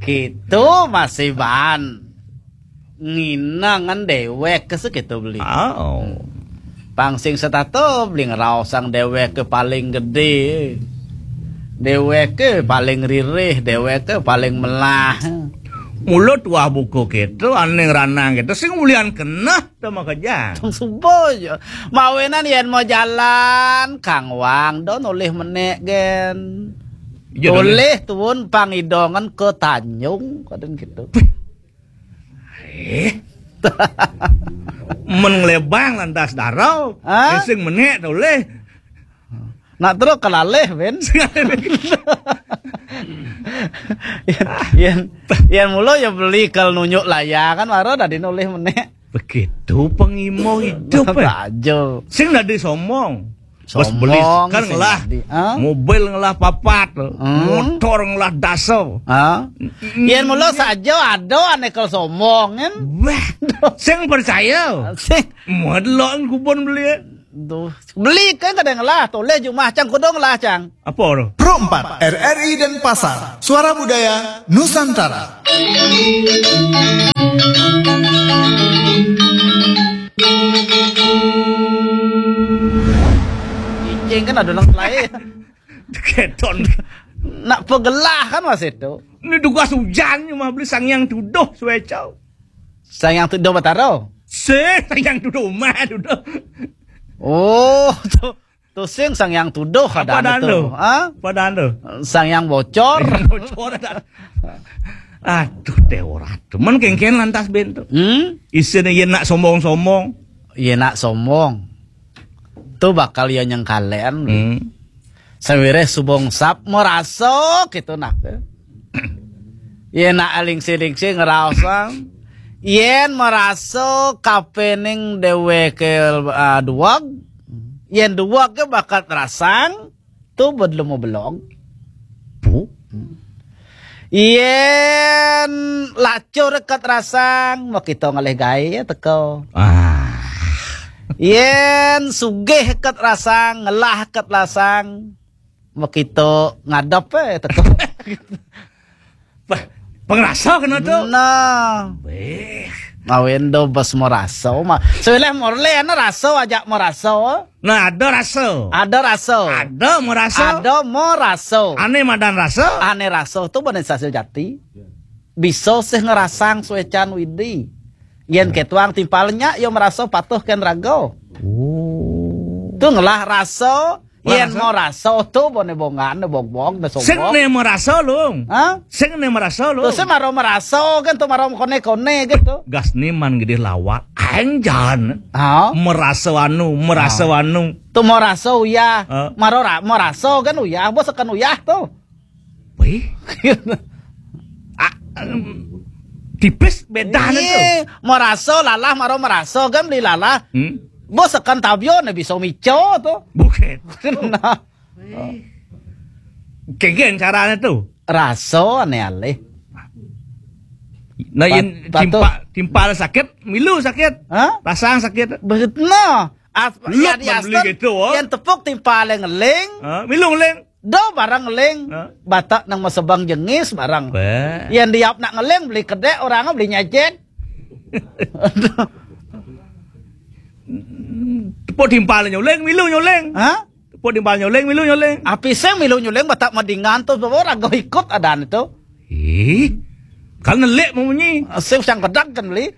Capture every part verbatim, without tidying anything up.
Kéto masih baan. Nginangan déwék ké sakéto beli. Oh. Pang sing setato beli ngraosang déwék ké paling gedé. Déwék ké paling ririh, déwék ké paling melah. Mula tuah buka kéto, ané ngranang kéto, sing ulian keneh ta makejang. Tong suba ja. Mawinan yén mau jalan, Kang Wang, da nolih menék gén. Iya, da nolih. Nolih tuun pang idongan ka Tanjung, kadén kéto. Eh. Men nglébang lantas dara. Hah? Sing menék nolih. Nak terus kelalih, Ben. Yén, yén, yén mula ya beli kal nunjuk layar kan, mara dadi nolih menék. Begitu pengimo hidup, eh. Aja. Sing dadi sombong. Bos beli Sombong kan sing ngelah dadi, ha? Mobil ngelah papat, Hmm. Motor ngelah dasa. Ha? Yén mula saja ada ané kal sombong, kan? Wah, sing percaya. Sing. Modlon kubon beli, eh. Duh, beli kan kadang lah, toleh jumah cang kudung lah cang. Apa tu? Pro empat, R R I Denpasar, Suara Budaya Nusantara. Cicing kan ada nang lain. Keton. Nak pegelah kan masih tu. Ini tugas hujan ni mah beli Sang Yang Tuduh suai cau. Sang Yang Tuduh Batara. Sing Sang Yang Tuduh mah tuduh. Oh, tu, tu sing Sang Yang Tuduh. Apa ada dan tu? Tu? Ha? Apa dan tu? Sang Yang Bocor. Yang Bocor ada. Aduh, Dewa Ratu. Men kéngkén lantas, Ben, tu. Hmm? Isine yén nak sombong-sombong. Yén nak sombong. Tu bakal ya nyengkalen. Hmm. Sawiréh suba engsap marasa kéto nak. Yén nak lingsir-lingsir ngraosang. Yén marasa kapéning déwéké, ah, duweg. Yén duweg ké bakat rasang, tu bedlemu belog. Pu? Yén lacur kat rasang, makita ngalih gaé ya teka. Ah. Yén sugih kat rasang, ngelah kat rasang, makita ngadep, eh, teka. Pah, pengrasa kena tu. Nah. Beh. Ngawin do bos marasa, ma. Sawiréh morlé ana rasa ajak marasa. Nah, ada rasa. Ada rasa. Ada marasa. Ada marasa. Ané madan rasa. Ané rasa tu bani sasil jati. Bisa sih ngrasang suécan Widi. Yén kétuang timpal nya, ya marasa patuh kén raga. Oh. Tu ngelah rasa, yén marasa tu bani bongan, bogbog, da sombong. Sing né marasa, Lung. Ha? Sing né marasa, Lung. Tu sing mara marasa kan, tu mara koné-koné gitu. Gas niman gedé lawak. Anjan. Ha? Marasa anu, marasa anu. Tu marasa uyah. Ha? Mara ra-, marasa kan uyah, bos kan uyah tu. Wih. Ah, em, tipis bedane tu. Iya, marasa lalah, mara marasa kan beli lalah. Hmm. Bos kan tabio ne bisa mico tu. Bukan. Nah. Kegen carane tu. Rasa ne alih. Nah, yen pat-, patuh. Timpa-, timpal sakit, milu sakit. Ha? Rasang sakit. Begitu nah. As-, yen beli diaster, gitu, oh. Yen tepuk timpal ngeling. Ha? Milu ngeling. Do barang ngeling. Ha? Batak nang masebang jengis barang. Wah. Yen diap nak ngeling beli kedek, orang beli nyajet. Tepuk timpal nyuling, milu nyuling. Ha? Tepuk timpal nyuling, milu nyuling. Api sing milu nyuling, batak madingan tu, bawa raga ikut adan tu. Ih, kan nelik mau munyi. Sing sang pedang kan beli.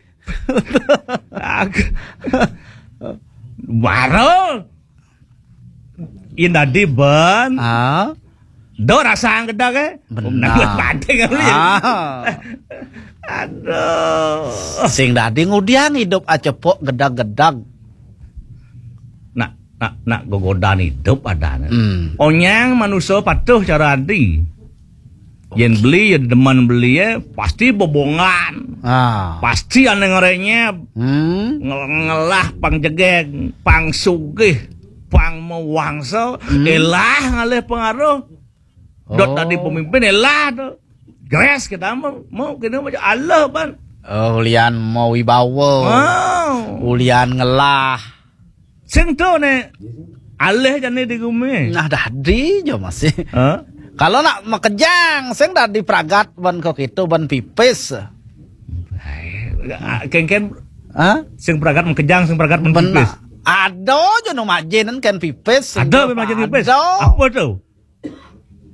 Aku. Baru. Yen dadi ben. Ah. Do rasang gedeg, eh? Benar. Nang badhe kali. Ah. Aduh. Sing dadi ngudiang idup acepok gedeg-gedeg. Nak, nak, nak gogodan idup adane. Hmm. Onyang manusa patuh cara adi. Yen beli, ya demen beli, ya, pasti bebongan. Ah. Pasti ane ngerenyep. Hmm. Ngel-, ngelah pang jegeg, pang sugih, pang mewangsa. Hmm. Elah ngalih pengaruh. Dot tadi pemimpin, elah tu. Gres kita mau, mau kena macam Allah, pan. Oh, ulian mau wibawa. Oh. Ulian ngelah. Sing tu ne alih jane di gumi. Nah, dadi jo masih. Ha? Kalau nak makejang, sing dadi pragat ban kok itu, ban pipis. Ai, kéngkén. Hah? Sing pragat makejang, sing pragat ban pipis. Ada aja nu majin kén pipis. Ada sing majin pipis. Ada. Apa tuh?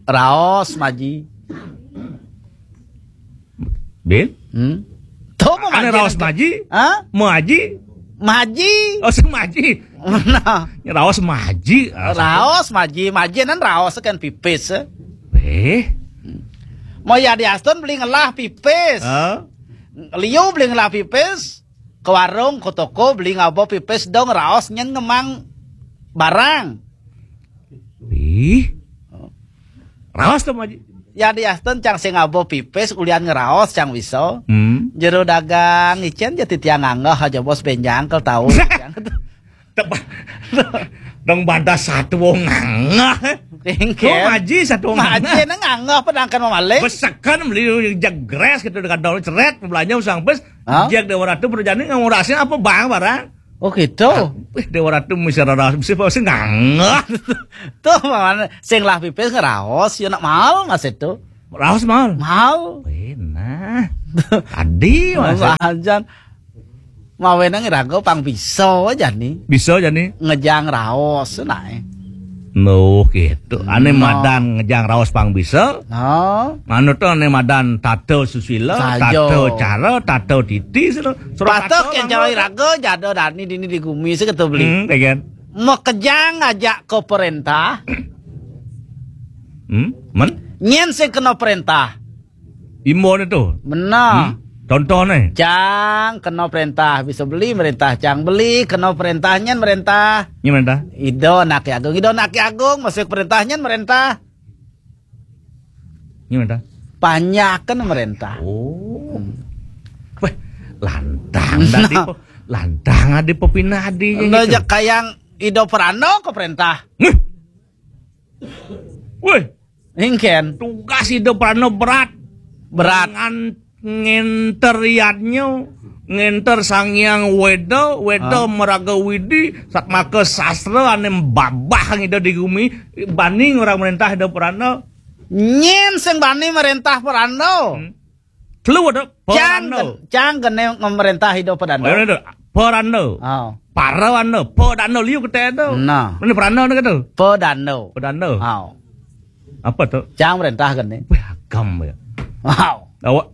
Raos maji. Bin? Hmm? Tuh mau maji raos nanti. Maji? Hah? Mau aji? Maji. Oh, sing maji. Nah. Raos maji. Raos maji, maji nan raos kan pipis. Eh? Mau ya di Aston beli ngelah pipis. Hah? Liu beli ngelah pipis. Ke warung, ke toko, beli ngabo pipis dong, raos nyen ngemang barang. Ih. Raos tuh, Maji. Ya di Aston cang sing ngabo pipis, ulian ngeraos cang bisa. Hmm. Jero dagang, icén jadi tiang nganggah aja bos benjang kel tahu. Tebak. Dong badas satu wong nganggah. Kéngkén. Kok Maji satu wong nganggah? Maji nang nganggah pedangkan mamaling. Besekan beli jegres gitu dengan dong ceret belanja usang pes. Hah? Jek Dewa Ratu perjani ngurasnya apa bang barang? Oh gitu. Wih, Dewa Ratu mesti raos, mesti pasti nganggah. Tuh mana sing lah pipis ngeraos ya nak mahal mas itu. Raos mahal. Mahal. Wih, nah. Tadi mas. Ajan. Mawenang irago pang bisa aja nih. Bisa aja nih. Ngejang raos nae. Nuh gitu. Ane madan ngejang raos pang bisa. No. Manut to ane madan tata susila, saja. Tata cara, tata titi, sira. Sira patuh tata kén mangga. Cawai raga jada dani dini di gumi sing ketu beli. Hmm, ya kan? Makejang aja ke perintah. Hmm, men? Nyen sing kena perintah. Imbone to. Benar. Hmm? Contohnya. Cang kena perintah bisa beli merintah cang beli kena perintah nyen merintah. Ini merintah. Ido anak agung, ido anak agung masuk perintah nyen merintah. Ini merintah. Panjakan merintah. Oh. Weh, lantang tadi po. Lantang adi pepinadi. Udah gitu. Aja kayang ido perano ke perintah. Weh. Weh. Ingkén. Tugas ido perano berat. Berat. Ngan ngenter yadnya, ngenter Sang Hyang Weda, Weda meraga widi, satmaka sastra ane babah ngida di gumi, bani ngorang merintah ido peranda. Nyen sing bani merintah peranda. Hmm. Telu ada cang peranda. Gen-, cang gene ngemerintah ido peranda. Peranda. Peranda. Oh. Parawanda, pedanda liu kete itu. Nah. Ini peranda ni kata. Pedanda. Pedanda. Oh. Apa tu? Cang merintah kan ni? Wih, agam ya. Wow. Awak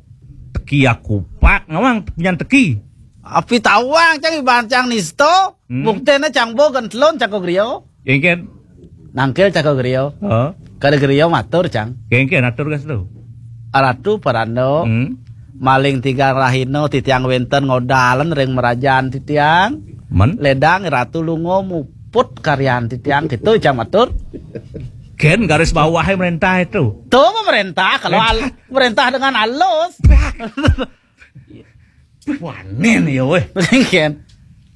teki aku pak, ngawang punya teki. Api tawang cang iban cang nisto, hmm. Buktene cang bo gentelon cang ko grio. Ingkén. Nangkil cang ko grio. Heeh. Kada grio matur cang. Ingkén atur gas tu. Aratu parando. Hmm. Maling tigang rahino titiang wenten ngodalan ring merajan titiang. Men? Ledang ratu lungo muput karyan titiang gitu cang matur. Ken garis bawahnya merintah itu. Tuh pemerintah kalau al-, merintah dengan halus. Wanen ya weh. Ken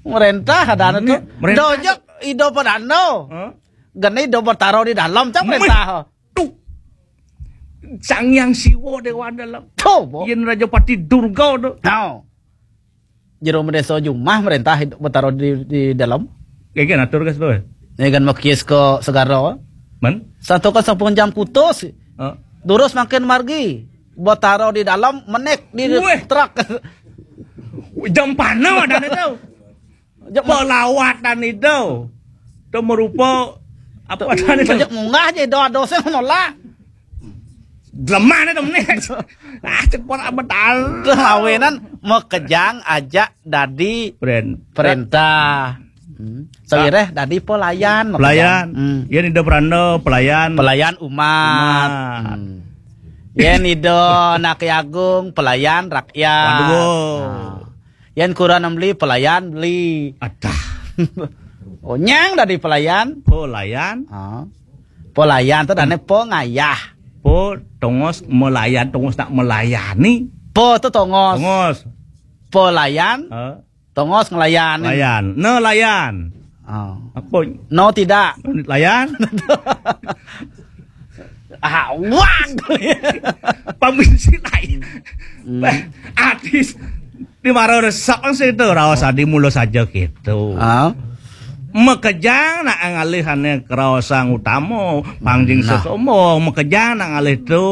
merintah ada anu tuh. Merintah. Dojok ido padano. Hah? Gene ido bertaro di dalam cang merintah. Tuh. Sang Hyang Siwa Dewa Dalam. Tuh, bo. Yen Raja Pati Durga tuh. Nau. Jero Medeso Jumah merintah ido bertaro di, di dalam. Kayak atur gas tuh. Ini kan makis ke segara. Men? Satu ke sepung jam kutus. Heeh. Durus makin margi. Bertaro di dalam menek di truk. Jam panah ada nih tuh. Pelawatan itu. Itu merupa apa tadi itu? Banyak munggah aja doa dosa menolak. Lemah itu menit. Ah, cepat amat. Awenan makejang aja dadi perintah. Hmm. Sawireh dadi pelayan, pelayan. Hmm. Yen ida peranda pelayan. Pelayan umat. Umat. Hmm. Yen ida anak agung pelayan rakyat. Waduh. Nah. Yen kurang beli pelayan beli. Adah. Oh, nyang dadi pelayan. Pelayan. Ah. Pelayan tuh dane pengayah. Po tongos melayan, tongos nak melayani. Po tuh tongos. Tongos. Pelayan. Heeh. Tongos ngelayan. Layan. Nelayan. Oh. Apa? No tidak. Layan. Ah, wang. Pamisi lain. Hmm. Artis di mara resep kan situ raos adi mula saja gitu. Ah. Makejang nak ngalih ane kraosang utama, pangjing sesombong, makejang nak ngalih tu.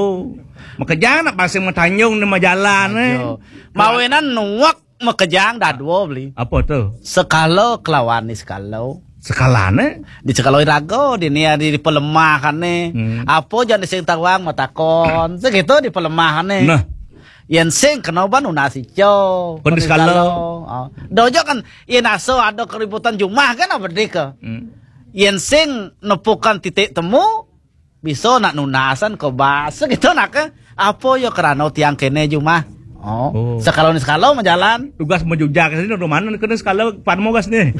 Makejang nak pasing matanjung di majalan, eh. Aduh. Mawinan nuwek makejang dadua beli. Apa tu? Sekala kelawan ni sekala. Sekalane? Di sekala iraga, di ni di, di pelemahane. Hmm. Apa jan sing tawang matakon. Segitu di pelemahane. Nah. Yen sing kena ban nunas ica. Kon di sekala. Ah. Dojo kan yen asa ada keributan jumah kan apa deka. Hmm. Yen sing nepukan titik temu, bisa nak nunasan ke bas gitu nak ke. Apa ya kerana tiang kene jumah. Oh, oh. Sekala ni sekala majalan. Tugas majujak sini rumah mana kena sekala pan mogas ni.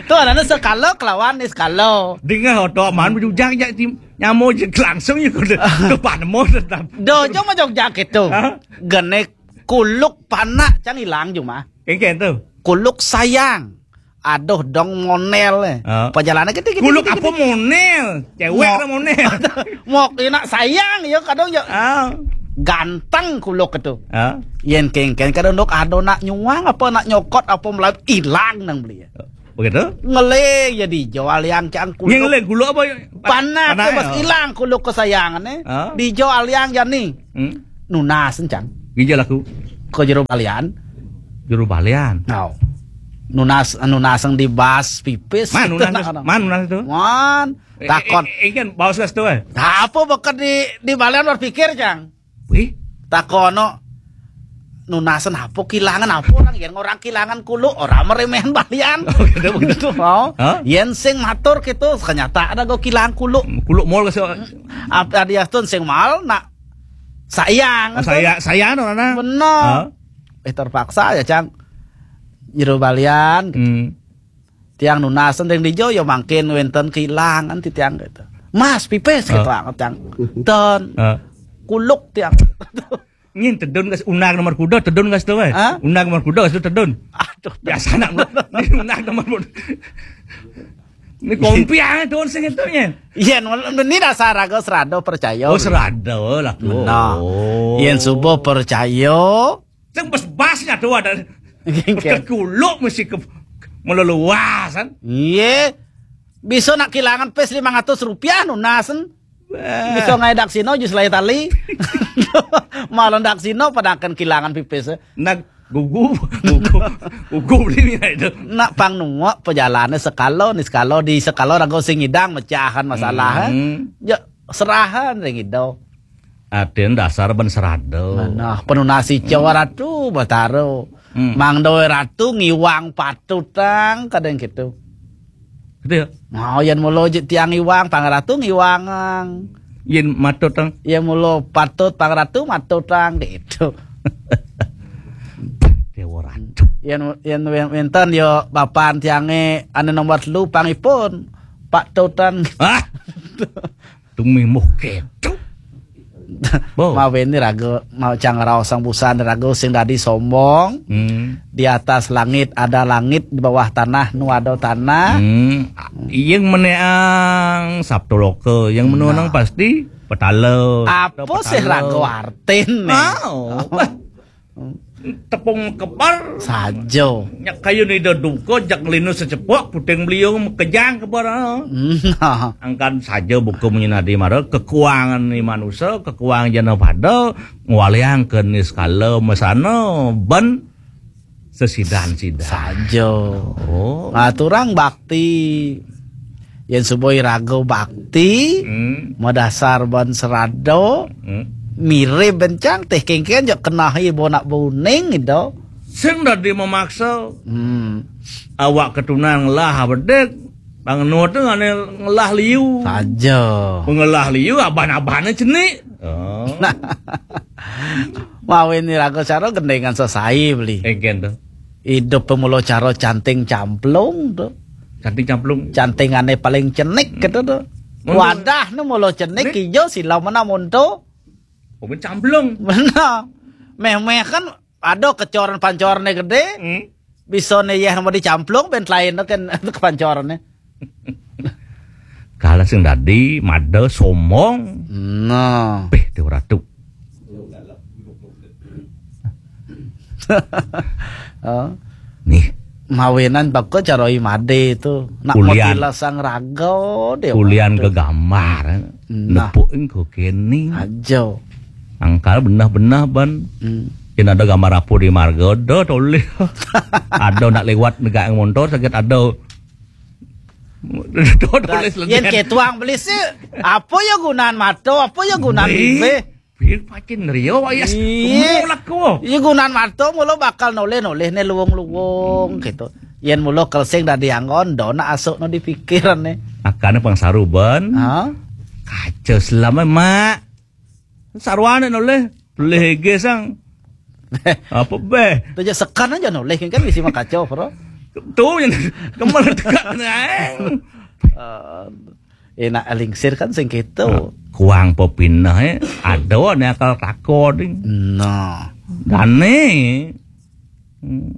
Tu anana sekala kelawan ni sekala. Dingah oto man majujak jak tim nyamo je langsung je ke ke pan mo tetap. Dojo majujak itu. Ha? Gene kuluk panak cang ilang jumah. Kengken tu. Kuluk sayang. Aduh dong monel eh. Ah. Perjalanan kita gitu. Kuluk gitu, apa gitu. Monel? Cewek mok. Ada monel. Mok enak sayang ya kadang ya. Ah. Ganteng kuluk itu. Ah. Yen kengken kadang dok ada nak nyuang apa nak nyokot apa mulai hilang nang beli. Begitu? Ngelih ya dijual yang cang kuluk. Yang ngelih kuluk apa? Panak, panak, pas ya. Hilang kuluk kesayangan eh. Ah. Dijual yang jani. Hmm? Nunas encang. Gija laku. Ke jero balian. Jero balian. Nau. Nunas nunas yang di bas pipis. Man nunas. Man nunas itu. Man. Eh, takon. Eh, eh, kan baus gas tu eh. Apa bekat di di balian berpikir cang. Wih. Takono. Nunasan apa kilangan apa orang yang orang kilangan kuluk orang meremehan balian. Oh, gitu, begitu. Oh. Hah? Yen sing matur gitu kenyataan ada go kilangan kuluk. Kuluk mall ke. Apa dia tuh sing mal nak sayang. Oh, saya saya no nana. Bener. Hah? Eh terpaksa ya cang. Jero balian. Hmm. Tiang nunasan yang dijo ya mangkin wenten kilangan ti tiang gitu. Mas pipis gitu. Hah? Anget tiang. Ten. Hah? Kuluk tiang. Nyin tedun gas unag nomor kuda tedun gas tu eh. Hah? Unag nomor kuda gas tu tedun. Aduh. Biasa nak ni unag nomor kuda. Ni kompiang tu sing itu nya. Iya, ni dasar aku serado percaya. Oh, serado lah tu. Benar. Oh. Yen subuh percaya. Sing bas-bas nya tu ada. Ke kuluk mesti ke meleluasan. Iya. Bisa nak kilangan pes lima ratus rupiah nunasan. Wah. Bisa ngai daksino jus lai tali. Malah daksino padakan kilangan pipis. Nak gugu, gugu, gugu beli ni itu. Nak pang nuak pejalane sekalo ni sekalo di sekalo rago sing idang mecahan masalah. Hmm. Ya serahan ring ido. Aden dasar ben serada. Nah, penunasi Jawa Ratu Batara. Hmm. Mang Doe Ratu ngiwang patut tang kadang gitu. Gitu ya? Nah, yen mula je tiang iwang, Pang Ratu ngiwangang. Yen matut tang. Yen mula patut, Pang Ratu matut tang gitu. Dewa Ratu. Yen yen wen- wenten ya bapan tiange ane nomor telu pangipun Pak Tutan. Ah. Tumih muh ketu. Bo. Mawen ni raga mau cang raosang busan raga sing dadi sombong. Hmm. Di atas langit ada langit, di bawah tanah nu ada tanah. Hmm. Yang meneang Sabtu Loka, yang menonang pasti petala. Apa sih raga artin nih? Oh. Tepung kebar. Saja. Nyak kayu ni ida duka, jak ngelinu secepok, puting beliung, mekejang kebar, ah. Hmm. Angkan saja buku munyi nadi mara, kekuangan ni manusia, kekuangan jana pada, ngwaliang ke ni sekala mesana, ben sesidan-sidan. Saja. Oh. Ngaturang bakti. Yen suba iraga bakti, hmm, madasar ban serada, hmm, mirib bencang teh kengken jok kenahi bo nak buning gitu. Sing dadi memaksa. Hmm. Awak ketunan ngelah bedik, bang Nuh tu ngane ngelah liu. Saja. Pengelah liu aban-abane cenik. Oh. Mawen iraga cara gendengan sesai beli. Kengken tu. Idup pemula cara canting camplung tu. Canting camplung. Cantingane paling cenik gitu tu. Wadah nu mula cenik ijo sila mana monto. Oh, ben camplung. Benar. Meh-meh kan ada kecoran pancorane gede. Hmm. Bisa ne yeh mau dicamplung ben lain tu kan kepancorane. Kala sing dadi mada sombong. Nah. Peh tu ratu. Oh. Nih. Mawinan baka cara imade tu. Nak Ulian. Motila sang raga dia. Ulian ke gambar. Nah. Nepuk engko kene. Aja. Angkal benah-benah ban. Hmm. Yen ada gambar apa di marga, ada tulis. Ada nak lewat negak montor sakit ada. Ada tulis. Yen ketuang beli sih, apa ya gunaan mata, apa ya gunaan bibir? Pir pacin rio ayas. Iya. Kemulak ko. Iya, gunaan mata mula bakal noleh-noleh ne luwung-luwung gitu. Yen mula kelsing dadi anggon, dona asuk no di pikiran ne. Akane pang saru ban. Ha? Kaca selama mak. Saruane noleh. Pelih ge sang. Apa beh? Tujuh sekan aja noleh kan bisi makaca, bro. Tu yang kemana tegak nang. Enak lingsir kan sing gitu. Kuang pepinah eh. Ada ne akal tako ding. Nah. Dane. Hmm.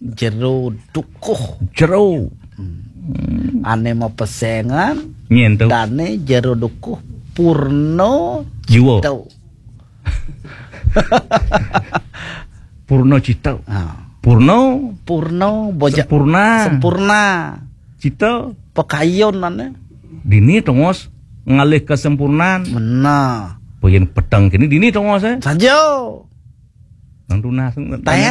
Jero dukuh. Jero. Hmm. Ane mau pesengan. Nyen tu. Dane jero dukuh purno. Jiwa. Tau. Purno cita. Ha. Purno. Purno boja. Sempurna. Sempurna. Cita. Pekayun ane. Dini tongos ngalih kesempurnaan. Mena. Poyen peteng kini dini tongos eh. Saja. Nang tunas. Tayang.